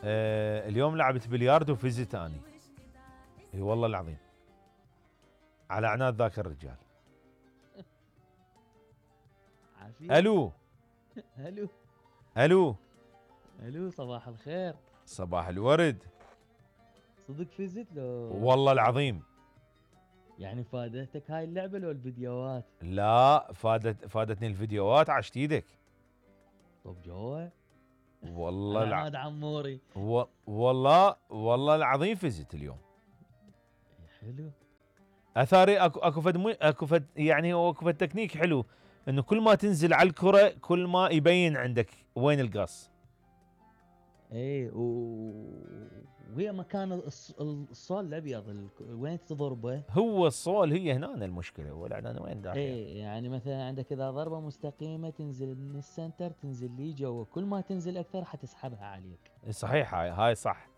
اليوم لعبت بلياردو وفزت اني. اي والله العظيم. على عناد ذاك الرجال. عافية. الو الو الو. الو، صباح الخير. صباح الورد. صدق فزت لو؟ والله العظيم. يعني فادتك هاي اللعبة لو الفيديوهات؟ لا، فادتني الفيديوهات. عشت ايدك. طب جوا. والله عناد عموري. والله العظيم فزت اليوم. حلو. اثاري اكو فد يعني هو اكو فد تكنيك حلو، انه كل ما تنزل على الكرة كل ما يبين عندك وين القص. ايه وهي مكان الصول الابيض وين تضربه؟ هو الصول هي هنا المشكلة، ولا انا وين داخل؟ ايه يعني مثلا عندك اذا ضربة مستقيمة تنزل من السنتر، تنزل لي جوا، كل ما تنزل اكثر حتسحبها عليك. صحيح، هاي صح.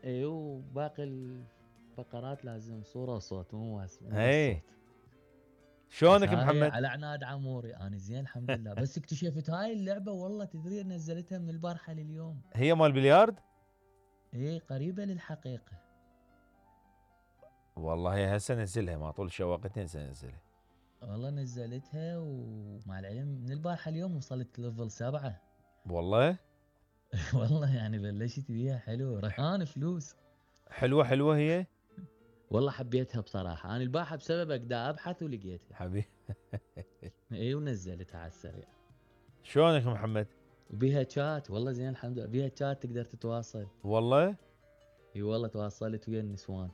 ايه، وباقي الفقرات لازم صورة وصوت، مو بس ايه. الصوت. شلونك هاي محمد؟ على عناد عموري انا زين الحمد لله. بس اكتشفت هاي اللعبة والله، تدري نزلتها من البارحة لليوم. هي مال بليارد؟ ايه قريبة للحقيقة. والله هي هسه نزلها، ما طول شواقتين هسه نزلها. والله نزلتها، ومع العلم من البارحة اليوم وصلت ليفل 7. والله والله يعني بلشت بيها حلو، رهان فلوس. حلوة هي. والله حبيتها بصراحة. انا البارحة بسببك دا ابحث ولقيتها. حبيبي. ايه ونزلتها على السريع. شلونك محمد؟ وبيها شات، والله زين الحمد لله. بيها شات تقدر تتواصل. والله اي والله تواصلت ويا النسوان.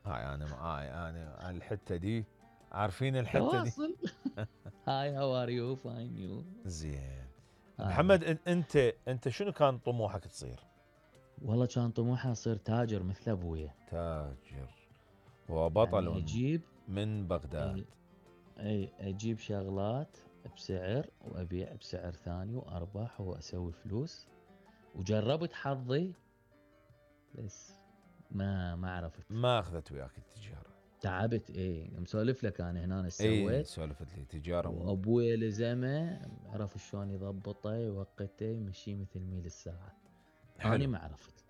انا الحته دي، عارفين الحته دي. تواصل. هاي هاو ار يو، فاين يو. زين. محمد، انت شنو كان طموحك تصير؟ والله كان طموحي اصير تاجر مثل ابويا. تاجر وبطل يعني اجيب من بغداد. اي اجيب شغلات بسعر وابيع بسعر ثاني وارباح واسوي فلوس. وجربت حظي بس ما عرفت. ما اخذت وياك التجاره. تعبت. ايه مسولف لك انا هنا ايش اي سويت. سولفت لي تجاره وابويا لزمه، عرف شلون يضبطه يوقته يمشيه مثل ميل الساعه. اني ما عرفت.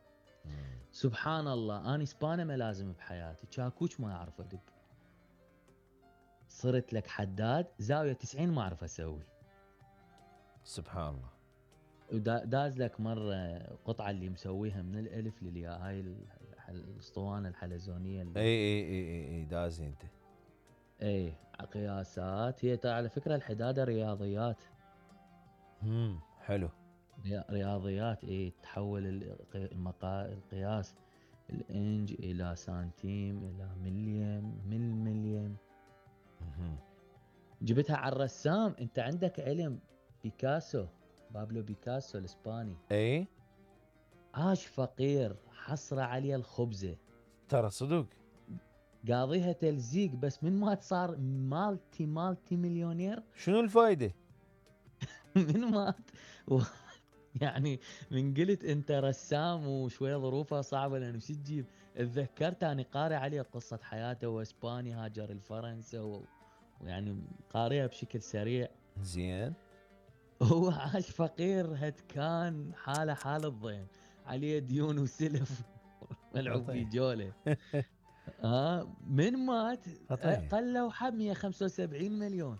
سبحان الله، اني سبانه ما لازم بحياتي، شاكوش ما اعرف ادق. صرت لك حداد زاويه 90 ما اعرف اسوي. سبحان الله. وداز لك مره قطعه اللي مسويها من الالف للياء، هاي الاسطوانه الحلزونيه اللي اي دازي انت. اي قياسات. هي على فكره الحداده رياضيات. حلو. رياضيات. اي تحول القياس الانج الى سنتيم الى مليم من مليم. جبتها على الرسام. انت عندك علم بيكاسو، بابلو بيكاسو الاسباني؟ اي عاش فقير حصره عليه الخبزه. ترى صدق. قاضيها تلزيق، بس من ما صار مالتي مليونير. شنو الفايده؟ من مات يعني من قلت انت رسام وشويه ظروفها صعبه، لانه شو تجيب. تذكرت اني قارئ عليه قصه حياته، واسباني هاجر لفرنسا ويعني قارئها بشكل سريع. زين. هو عاش فقير هتكان، حال الضيم، عليه ديون وسلف. ملعوب في جوله. من مات قلوا حب 175 مليون.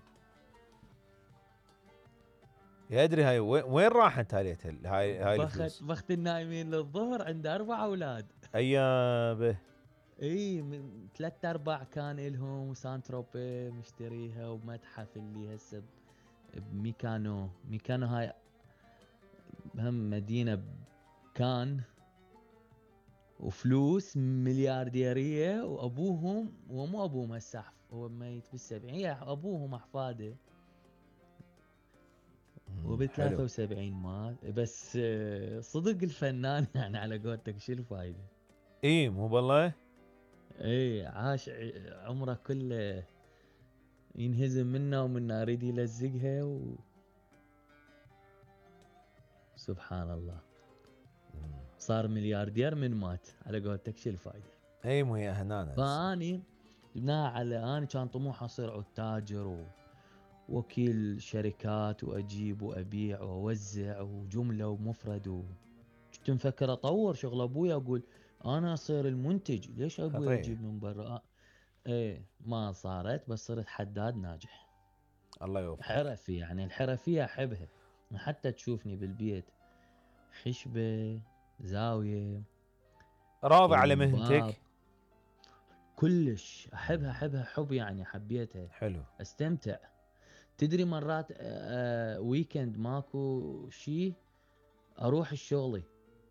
يدري هاي وين راحت هاي الفلوس؟ بخت النايمين للظهر، عنده 4 اولاد. ايابه. اي 3/4 كان الهم سانتروبي مشتريها، ومتحف اللي هسه بميكانو هاي هم مدينه كان. وفلوس مليارديريه. وابوهم، ومو ابوهم هسه هو ميت بال70، ابوهم احفاده. وب73 مات. بس صدق الفنان يعني على قولتك شو الفايده؟ اي مو بالله. اي عاش عمره كله ينهزم منه ومنه يريد يلزقها سبحان الله. صار ملياردير من مات، على قولتك شو الفايده؟ اي مو هي هنا. فاني جبناها على اني كان طموحي اصير عود تاجر ووكيل شركات، واجيب وابيع واوزع وجمله ومفرد كنت مفكر اطور شغل ابوي، اقول انا اصير المنتج، ليش ابوي خطير. يجيب من برا؟ ايه ما صارت، بس صرت حداد ناجح الله يوفقك. حرفي. يعني الحرفية احبها، حتى تشوفني بالبيت خشبة، زاوية، راضي على الباب، مهنتك؟ كلش احبها، احبها حب يعني، حبيتها، حلو. استمتع. تدري مرات ويكند ماكو شي اروح الشغلي،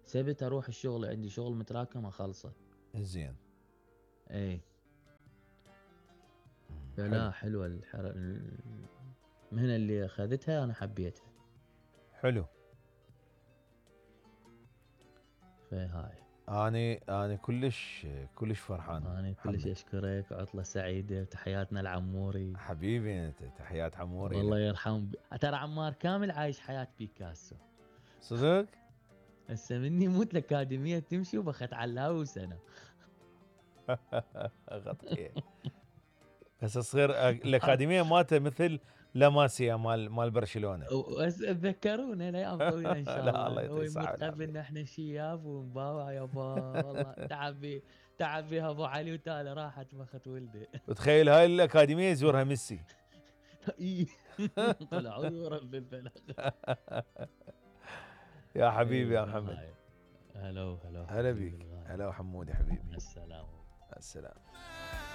سبت اروح الشغل، عندي شغل متراكم اخلصه. زين. ايه حلو. فلا حلوة المهنة اللي اخذتها انا حبيتها. حلو. فهاي انا كلش فرحان. انا كلش محمد اشكرك، عطلة سعيدة، تحياتنا العموري. حبيبي، انت تحيات عموري والله لك. يرحم ترى عمار كامل عايش حياة بيكاسو. صدق. هسه مني موت الاكاديمية تمشي وبخت علاوس انا. غطية. بس تصير الاكاديميه مالته مثل لاماسيا مال برشلونه. تذكرونا الايام طويله ان شاء لا الله الله. هو يعطيه الصحه يموت والعافيه. قبلنا احنا شياب ونباوع يابا. والله تعب بيها ابو علي، وتالي راحت بخت ولده. وتخيل هاي الاكاديميه يزورها ميسي. إي. طلعوا يورب بالبلد. يا حبيبي ايه يا محمد. فهاي. هلا هلا حبيبي بيك. الغالي. هلا حمودي حبيبي. مع السلامه. السلام.